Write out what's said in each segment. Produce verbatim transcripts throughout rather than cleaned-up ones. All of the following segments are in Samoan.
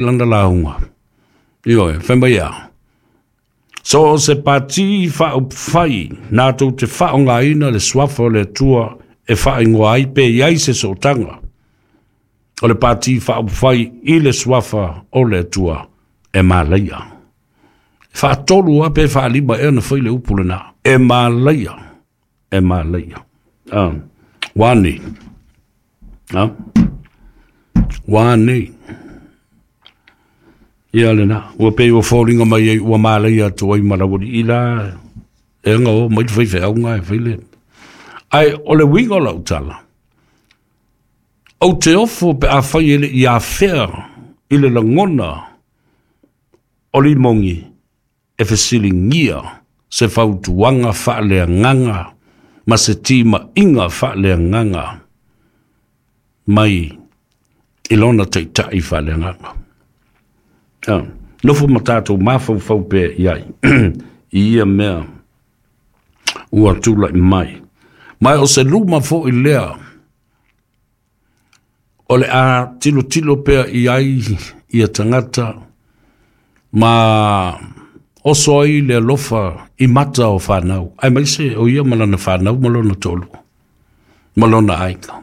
Lana lauga. Ioe, fai mai a. So o se pati faaupufai natou te faaaogaina le suafa o le Atua e faaigoa ai pe i ai se sootaga o le pati faaupufai i le suafa o le Atua e malaia. E faatolu lava pe faalima ea ona fai le upu lena. E malaia. E malaia. Ah, ua nei. Ah, ua nei. Ia lena, ua pei ua foliga mai ai ua malaia atu ai ma laualii la e aga o mai le faifeauga e fai le. Ae o le uiga o lau tala, ou te ofo pe afai e le i afea i le lagona o Limogi e fesiligia se fautuaga faaleagaga ma se timaiga faaleagaga mai i lona taitai faaleagaga. Ah, nofo ma tatou mafaufau pea i ai i ia mea ua tulai mai. Ma o se luma foi lea o le a tilotilo pea i ai ia tagata ma oso ai le alofa i mata o fanau, aemaise o ia ma lana fanau ma lona toalua ma lona aiga,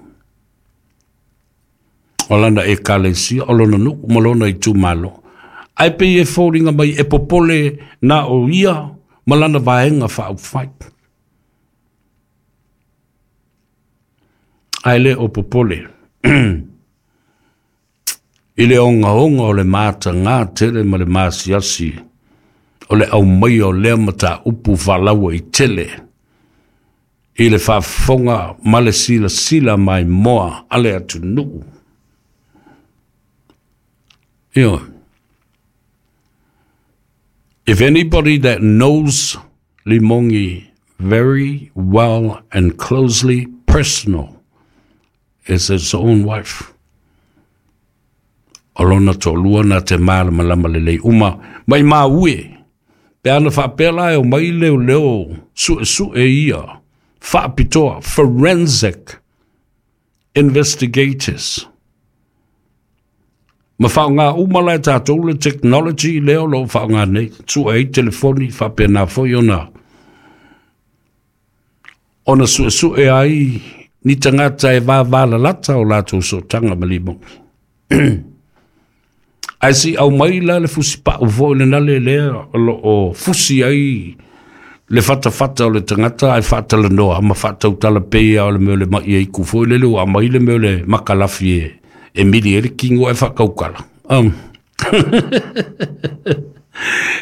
o lana ekalesia, o lona nuu ma lona itumalo. Ae pei e foliga mai e popole na o ia ma lana vaega faaupufai, ae le o popole i le ogaoga o le matagā tele ma le masiasi o le aumaia o lea mataupu faalauaitele i le faafofoga ma le silasila maimoa a le atunuu. Ioe. If anybody that knows Limogi very well and closely personal is his own wife. O lona toalua na te malamalama lelei uma mai maue. Pe ana faapea la e omai leoleo suesue ia faapitoa, forensic investigators. Ma faaaoga uma la e tatou le technology lea o lo o faaaoga nei, sue ai telefoni, faapena foi ona ona suesue ai ni tagata e vavalalata o latou sootaga ma Limogi. Ae se i aumai la le fusipau foi lena le lea o lo o fusi ai le fatafata o le tagata ae faatalanoa ma faatautala pei lava o le mea o le mai aiku foi lele ua aumai le mea o le makalafi e e mili ai le kino ae faakaukala. Um.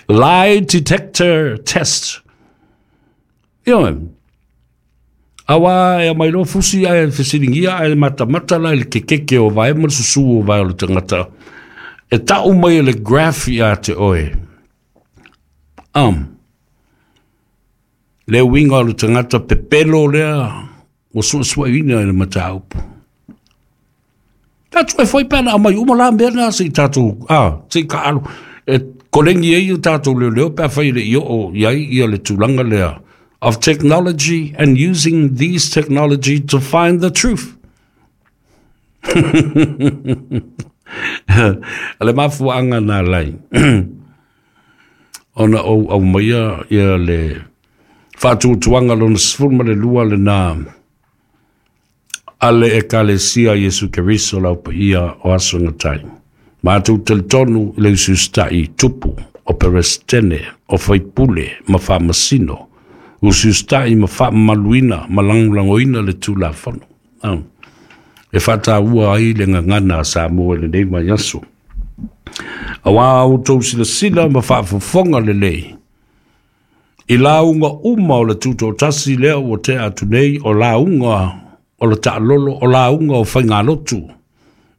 Lie detector test. Ioe. Aua e aumai loa fusi ae fesiligia ae matamata la i le kekeke o vae ma le susu o vae o le tagata. E tau mai e le graph ia te oe. Um. Le uiga o le tagata pepelo lea ua suesueina i le mataupu. Tatou e foi pe ana aumai uma la mea na se i tatou, ah, se i taaalo e kolegi ai o tatou leoleo pe afai e le i oo i ai ia le tulaga lea of technology and using these technology to find the truth. O le mafuaaga na alai ona ou aumaia ia le faatuatuaga lona sefulu ma le lua lena a le Ekalesia a Iesu Keriso lau paia o aso gatai. Matou talitonu i le usiusitai tupu o Peresetene, o faipule ma faamasino, usiusitai ma faamamaluina ma lagolagoina le Tulafono. E faataua ai le gagana a Samoa i lenei vaiaso. Aua outou silasila ma faafofoga lelei i lauga uma o le Tutoatasi lea ua tea atu nei, o lauga o le taalolo, o lauga o faigalotu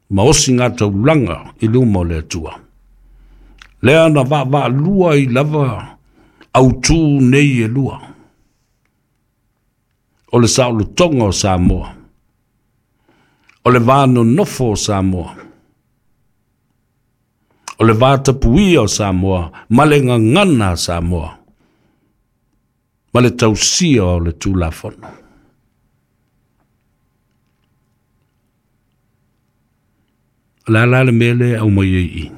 ma osigataulaga i luma o le Atua. Lea na vaavaalua ai lava autū nei e lua, o le saolotoga o Samoa, o le va nonofo o Samoa, o le va tapuia o Samoa ma le gagana a Samoa ma le tausia o le Tulafono. O le a la le mea lea e aumai ai i i?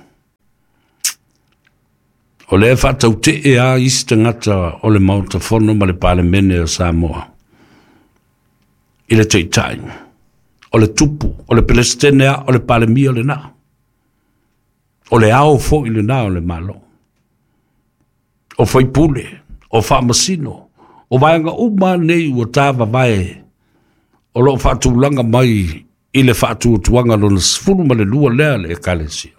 O lea faatautee a isi tagata o le Maota Fono ma le Palemene o Samoa i le taitai, o le tupu, o le Pelesitene a, o le Palemia lena, o le ao foi lena o le Malo, o faipule, o faamasino, o vaega uma nei ua tavavae o loo faatulaga mai i le faatuatuaga lona sefulu ma le lua lea le Ekalesia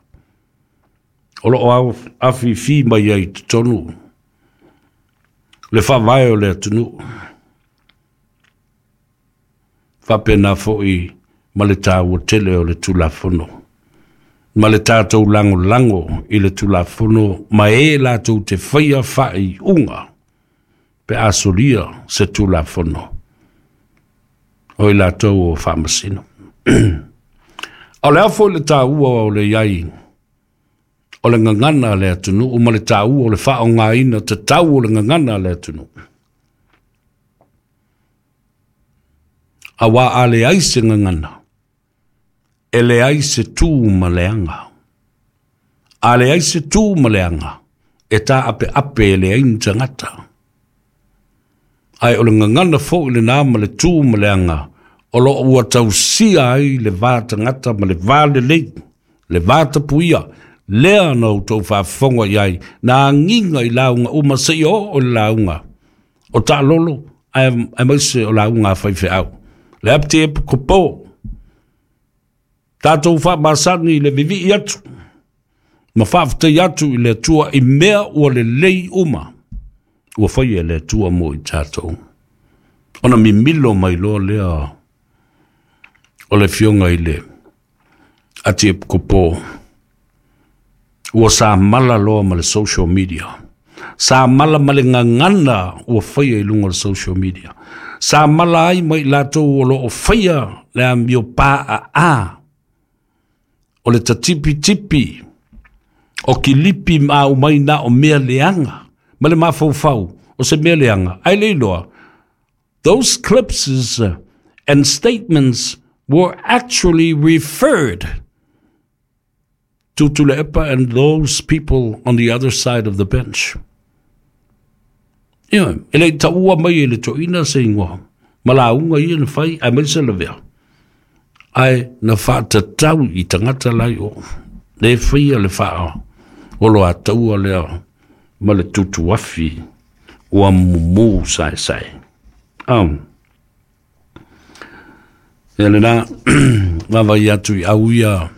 o loo afifi mai ai i totonu le faavae o le atunuu. Faapena foi ma le taua tele o le Tulafono ma le tatou lagolago i le Tulafono ma e latou te faia faaiuga pe a solia se Tulafono o i latou o faamasino. O le a foi le taua o le iai o le gagana a le atunuu ma le taua o le faaaogaina tatau o le gagana a le atunuu. Auā a leai se gagana, e leai se tu ma le aga. A leai se tu ma le aga, e taapeape e leai ni tagata. Ae o le gagana foi lena ma le tu ma le aga o loo ua tausia ai le va tagata ma le va lelei, le va tapuia, lea na outou faafofoga i ai, na agiga i lauga uma seia oo i le lauga o taalolo aemaise o lauga a faifeau. Le apti e kopo, tatou faamasani i le vivii atu, ma faafetai atu i le Atua i mea ua lelei uma, ua faia e le Atua mo i tatou. Ona mimilo mai loa lea o le afioga i le Atiepikopo, ua samala loa ma le social media, samala ma le gagana ua faia i luga o le social media, samala ai ma i latou o loo faia le amio paaa o le tatipitipi o kilipi ma aumai na o mea leaga ma le mafaufau o se mea leaga ae le iloa. Those clips and statements were actually referred to Tuilaepa and those people on the other side of the bench. Ia, e le taua mai e le toeaina se igoa, ma lauga ia na fai, aemaise lavea. Ae na faatatau i tagata lai o, le faia le faa olo ataua lea ma le tutuafi ua mumu saesae. Um, ia lena, vaavaai atu i au ia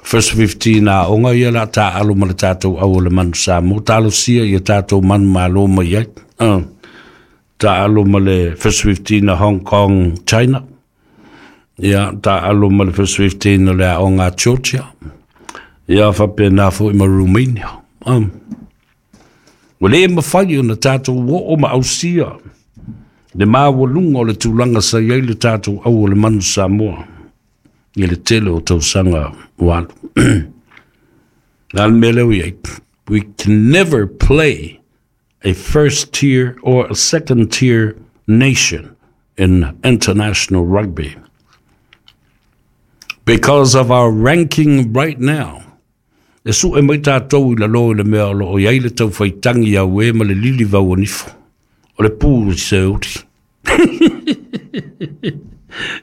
First fifteen a onga ia la ta alo ma le tatou au o le manu Samoa, talosia ia tatou manu malo mai ai. Uh, ta alo ma le First fifteen a Hong Kong, China. Ia, ta alo ma le First fifteen o le aoga a Georgia. Ia, faapena foi ma Romania. Um, ua le mafai ona tatou oo ma ausia le maualuga o le tulaga sa i ai le tatou au o le manu Samoa i le tele o tausaga ua alu. Na le mea lea ua i ai, we can never play a first tier or a second tier nation in international rugby because of our ranking right now. E sue mai tatou i lalo i le mea o loo i ai le taufaitagi auē ma le lili vauanifo o le pu i se uli.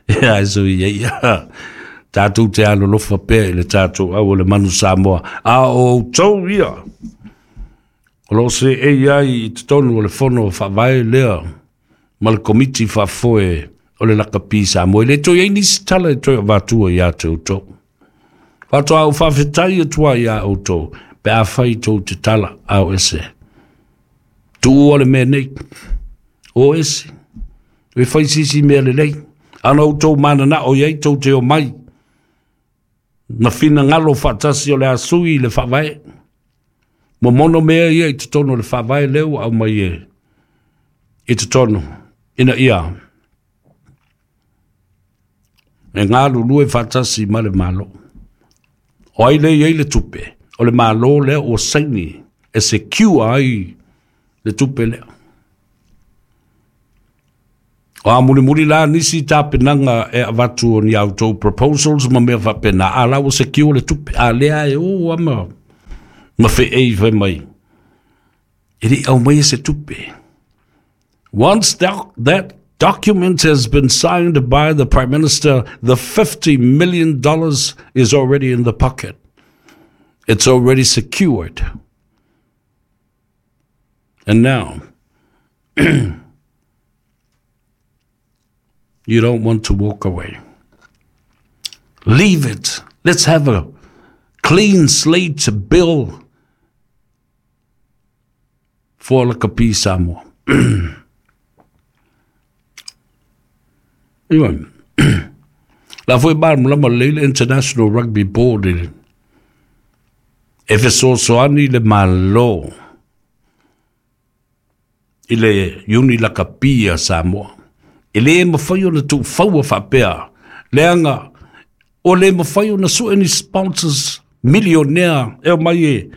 Ia ae so ia ia tatou te alolofa pea i le tatou au o le manu Samoa, a o outou ia o loo seei ai i totonu o le fono faavae lea ma le komiti faafoe o le lakapi Samoa. E le toe ai nisi tala e toe avatua iā te outou. Faatoa ou faafetai atu ai iā outou pe afai tou te tala a o ese. Tuua le mea nei. O ese. E fai sisi mea lelei. Ana outou mananao i ai tou te omai ma finagalo faatasi o le a sui i le faavae. Momono mea ia i totonu o le faavae lea ua aumai e i totonu ina ia e galulue faatasi ma le Malo. O ai lea e i ai le tupe? O le Malo lea ua saini e secure ai le tupe lea. O a mulimuli la nisi tapenaga e avatu o ni a outou proposals ma mea faapena, a la ua secure le tupe, a lea e o ama ma feei fai mai. E le au mai se tupe. Once that, that document has been signed by the Prime Minister, the fifty million dollars is already in the pocket. It's already secured. And now, you don't want to walk away. Leave it. Let's have a clean slate bill for Lakapi Samoa. Anyway, la foi malamalama lelei le International Rugby Board e e fesoasoani le Malo i le iuni lakapi a Samoa. E lē mafai ona tuufaua faapea, leaga o lē mafai ona sue ni sponsors milionea e omai e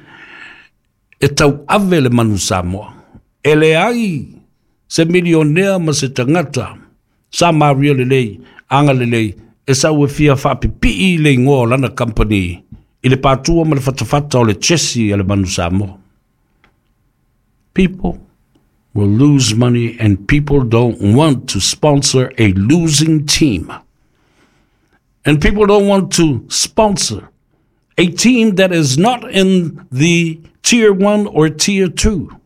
e tauave le manu Samoa. E leai se milionea ma se tagata sa maria lelei aga lelei e sau e fia faapipii le igoa o lana company i le patua ma le fatafata o le chesi a le manu Samoa. People will lose money, and people don't want to sponsor a losing team. And people don't want to sponsor a team that is not in the tier one or tier two.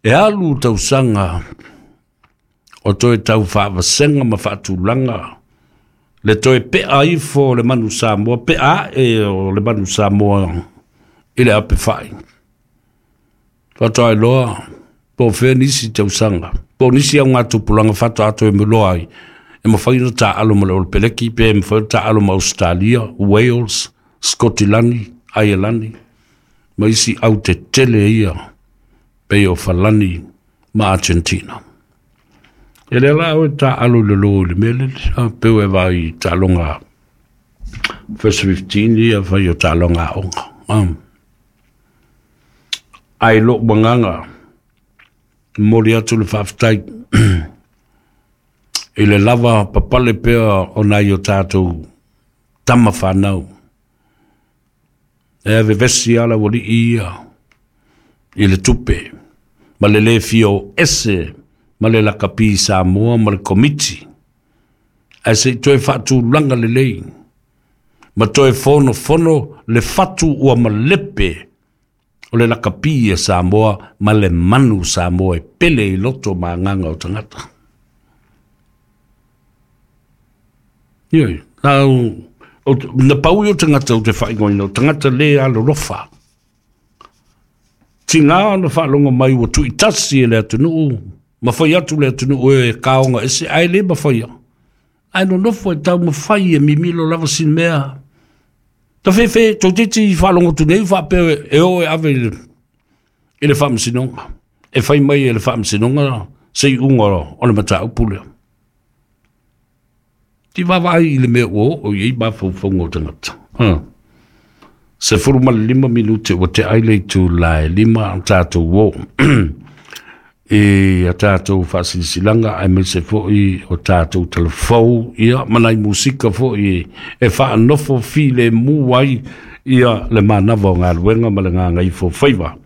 E alu tausaga o toe tau faavasenga ma faatulaga le toe pea ifo o le manu Samoa, pea ae o le manu Samoa i le apefai. Faatoa iloa po o fea nisi tausaga, po o nisi augatupulaga faatoa ato e maloa ai, e mafai ona taalo ma le Olepeleki, pe e mafai ona taalo ma Australia, Wales, Scottilani, Aielani, ma isi autetele ia, pei o Falani ma Argentina. E lea la oe taalo i le lō i le mea lele, a peu e vaai i taaloga First fifteen ia fai o taaloga aoga. Um. Ai lou agaga, momoli atu le faafetai i le lava papale pea o nai o tatou tama fanau. E vevesi ala ualii ia i le tupe ma le lē fia o ese ma le lakapi Samoa ma le komiti. Ae se i toe faatulaga lelei ma toe fonofono le fatu ua malepe o le lakapi a Samoa ma le manu Samoa e pele i loto ma agaga o tagata. Ioe, lau, na pau i o tagata o te faaigoaina, o tagata lē alolofa. Tigā ona faalogo mai ua tuuitasi e le atunuu, ma fai atu le atunuu e kaoga ese, ae lē mafaia. Ae nonofo e taumafai e mimilo lava sina mea. Ta fefe, toeitiiti faalogo atu nei faapea e oo e ave i le, i le faamasinoga. E fai mai e le faamasinoga se iuga o le mataupu lea. Ti vaavaai i le mea ua oo i ai mafaufauga o tagata. Ha. Sefulu ma le lima minute ua tea ai le itula e lima a tatou o i a tatou faasilasilaga aemaise foi o tatou talafou ia ma nai musika foi e faanofo filemu ai ia le manava o galuega ma le gagaifo faiva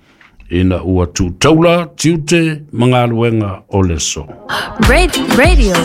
ina ua tuutaula tiute ma galuega o le aso. Radio